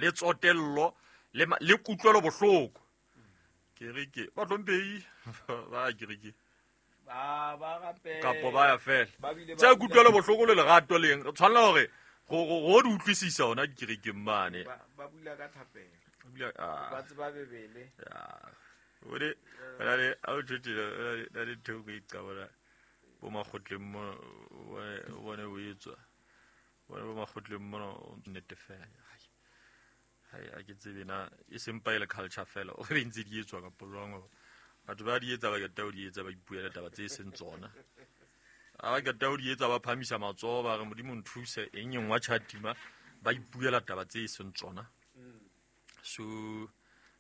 Le tsotello le kutlwelo bohloko. Kereke ba hlomphehi ba kereke ba rapela kapo ba ya fela. Ba bile ba Tse kutlwelo bohloko le lerato leng re tshwanela hore go di utlwisisa hona dikerekeng mane. Ba bula ka thapelo. Bula, ah. Ba tseba bebele. Ya. O di na le a o tjhutile na le thoko e qabona bo makgotleng mo o bone o etswa. Bone bo makgotleng mo o nnete fela. Hai, ha ke tsebe na e seng pa e le culture fela o re ntse di etswa kapo jwang hore batho ba di etsa ba qeta ho di etsa ba ipuela taba tse seng tsona. Ha ba qeta ho di etsa ba phamisa matsoho ba re Modimo nthuse eng eng wa tjhatima ba ipuela taba tse seng tsona. So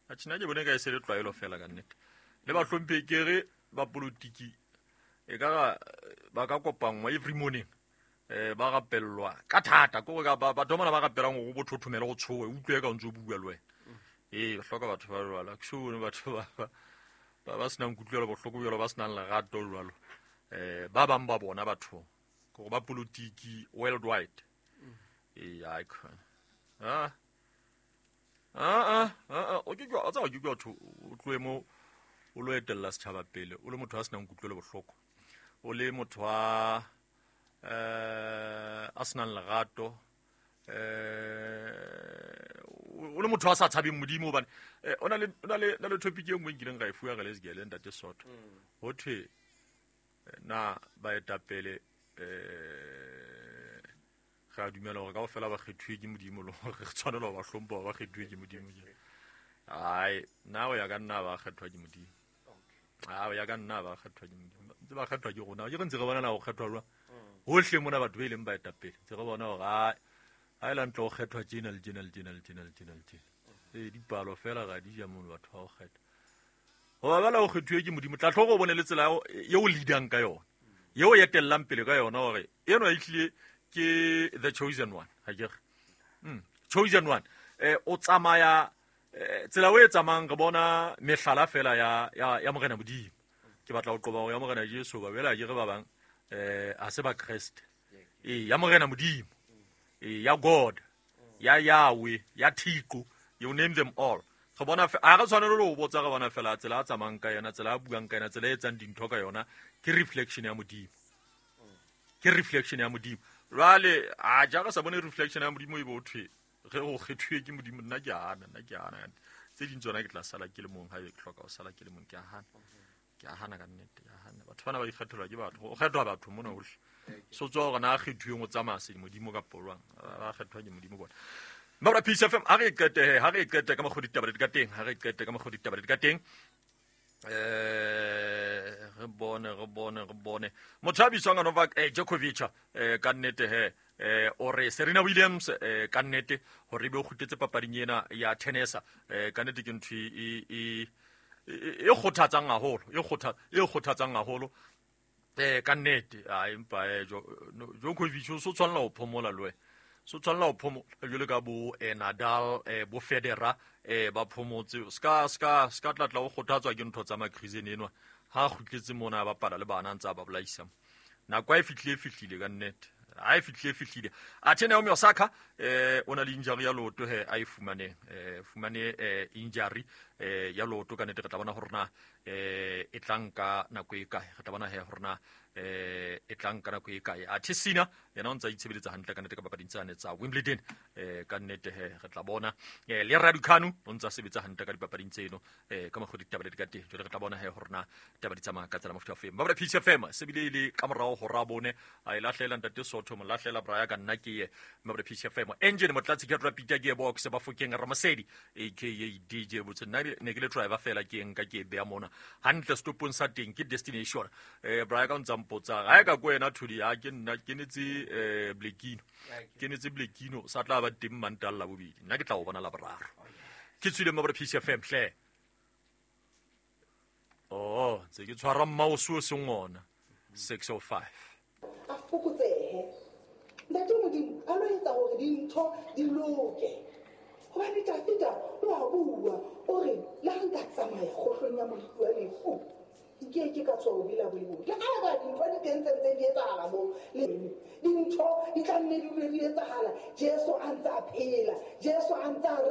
atjhe nna ke bone ka e se le tlwaelo fela ka nnete. Le bahlomphehi ke re ba politiki e ka ra ba ka kopanngwa every morning. Ba rapellwa ka thata ke hore batho bana ba rapelang hore bo thothomele go tshohe o utlwe ka o ntse o bua le wena. Ee, hloka batho ba jwalo. Ke so bone batho ba senang kutlwelo bohloko jwalo, ba senang lerato jwalo. Ba bang ba bona batho ke hore ba politiki worldwide. Ee, ai khona. Ah. Ah ah ah, o ke ke o tsaba ke ke batho o tlohe mo o lo etella setjhaba pele o le motho a senang kutlwelo bohloko. O le motho a a senang lerato, o le motho a sa tshabeng Modimo hobane o na le topic e nngwe nkileng ka e fuwa re le Segele ntate Soto. Ho thwe na baetapele re a dumela hore kaofela ba kgethuwe ke Modimo le hore re tshwanela ho ba hlompha hore ba kgethuwe ke Modimo. Ai, nna ho ya ka nna ba kgethwa ke Modimo. A ho ya ka nna ba kgethwa ke Modimo. Ntse ba kgethwa ke rona. Ke re ntse re bona na ho kgethwa jwang. Hohle mona batho ba ileng baetapele ntse re bona hore ha e la ntle ho kgethwa tjena le tjena le tjena le tjena le tjena le tjena. Ee, dipalo fela ga di ja mono batho ba ho kgetha. Hoba bala ho kgethuwe ke Modimo, tla tlhoka o bone le tsela eo leadang ka yona, eo etellang pele ka yona hore enwa ehlile ke the chosen one, ha ke re. Chosen one. O tsamaya tsela o e tsamayang re bona mehlala fela ya Morena Modimo. Ke batla ho qoba hore ya Morena Jesu ba bela ke re ba bang ha se ba Kreste. Ee, ya Morena Modimo. Ee, ya God, ya Yahweh, ya Thixo, you name them all. Re bona ha re tshwanele ho botsa, re bona fela tsela a tsamayang ka yona, tsela a buang ka yona, tsela e etsang dintho ka yona, ke reflection ya Modimo. Ke reflection ya Modimo. Jwale a ja re sa bone reflection ya Modimo e bo thwe re go kgethuwe ke Modimo, nna ke hana, nna ke hana. Tse ding tsona ke tla sala ke le mong, ha ke hloka ho sala ke le mong, ke a hana. Ke a hana ka nnete, ke a hana. Batho bana ba ikgethelwa ke batho, ho kgethwa batho mona hohle. So tswa hore na kgethuweng o tsamaya se Modimo kapa jwang, ba kgethwa ke Modimo bona. Mabra Peace FM, ha re qete he, ha re qete ka mokgwa ditaba di ka teng, ha re qete ka mokgwa ditaba di ka teng. Re bone, re bone, re bone. Motho a bitswang Novak Djokovic, ka nnete he, o re Serena Williams, ka nnete hore ebe o kgutletse papading ena ya tennis, ka nnete ke ntho e kgothatsang haholo, e kgothatsang haholo. Ka nnete, a empa Djokovic o so tshwanela ho phomola le wena. So tshwanela ho phomola jwalo ka bo Nadal, bo Federer, ba phomotse. Ska tlatla o kgothatswa ke ntho tsa Makrizene enwa. Ha kgutletse mona a bapala le bana ntse a ba bolaisa. Nako ha e fihlile, e fihlile ka nnete. Ha e fihlile, e fihlile. Athe Naomi Osaka, o na le injury ya leoto he, a e fumaneng. Fumane injury ya leoto ka nnete. Re tla bona hore na e tla nka nako e kae. Re tla bona he hore na e tla nka nako e kae. Athe Sinner yena o ntse a itshebeletsa hantle ka nnete ka papading tsane tsa Wimbledon. Ka nnete he re tla bona. Le Raducanu o ntse a sebetsa hantle ka dipapading tseno, ka mokgwa ditaba di ka teng. Jwale re tla bona he hore na taba di tsamaya ka tsela mofuta ofe. Mabra Peace FM se bile le ka morao ho rabone a e lahlela ntate Sotho, mo lahlela Braya ka nna ke ye. Mabra Peace FM engine motlatsi ke Rapita Gearbox Bafokeng Ramasedi aka DJ Botse. Nna ne ke le driver fela ke nka ke beya mona hantle stopong sa teng ke destination. Braya ka o ntsa mpotsa ha e ka ko wena Thuli, ha ke nna ke netse Blekino. Ke netse Blekino sa tla ba teng Mantaha la bobedi. Nna ke tla o bona la boraro. Ke tswile Mabra Peace FM hle. Oh, ntse ke tshwara mouse o seng ona. 6:05. A fokotsehe. Ntate Modimo a lo etsa hore dintho di loke. Hobane Dafida o a bua, o re le ha nka tsamaya kgohlong ya moriti wa lefu, nke ke ka tswa ho bela bo. Le ha ba dintho di teng tse ntse di etsahala moo, le dintho di tla nne di dule di etsahala. Jesu a ntse a phela, Jesu a ntse a